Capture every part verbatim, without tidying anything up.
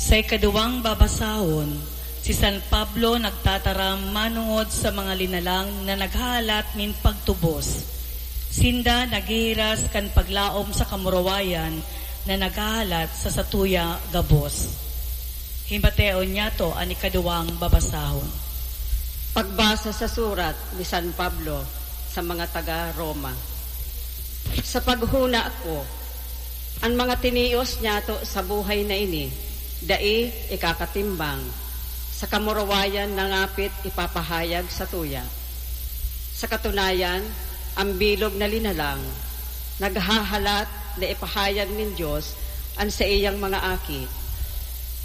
Sa ikaduwang babasahon, si San Pablo nagtataram manongod sa mga linalang na naghahalat nin pagtubos. Sinda naghihiras kan paglaom sa kamurawayan na naghahalat sa satuya gabos. Himateon niyato an ikaduwang babasahon. Pagbasa sa surat ni San Pablo sa mga taga Roma. Sa paghuna ko, an mga tinios niyato sa buhay na ini dai ikakatimbang sa kamurawayan na ngapit ipapahayag satuya. Sa katunayan, ang bilog na linalang naghahalat na ipahayag nin Dios an saiyang mga aki.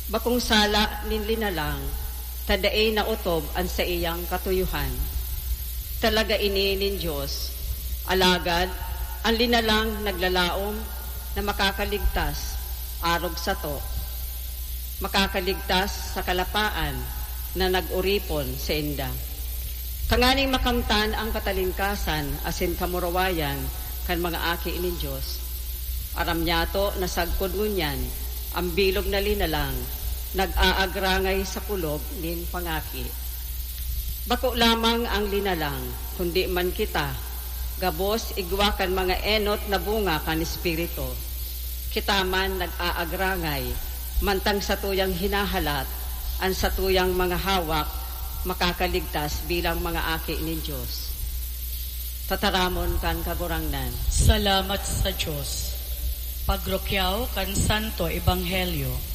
Bakong sala nin linalang ta dai naotob an saiyang katuyohan. Talaga ini nin Dios, alagad an linalang naglalaom na makakaligtas arog sato, makakaligtas sa kalapaan na nag-oripon sainda. Tanganing makamtan ang katalingkasan asin kamurawayan kan mga aki nin Dios. Aram niyato na sagkod ngunyan, ang bilog na linalang nag-aagrangay sa kulog nin pangaki. Bako lamang ang linalang, kundi man kita, gabos igwa kan mga enot na bunga kan Espiritu. Kita man nag-aagrangay, mantang satuyang hinahalat an satuyang mga hawak makakaligtas bilang mga aki nin Dios. Tataramon kan Kagurangnan. Salamat sa Dios. Pagrukyaw kan Santo Ebanghelyo.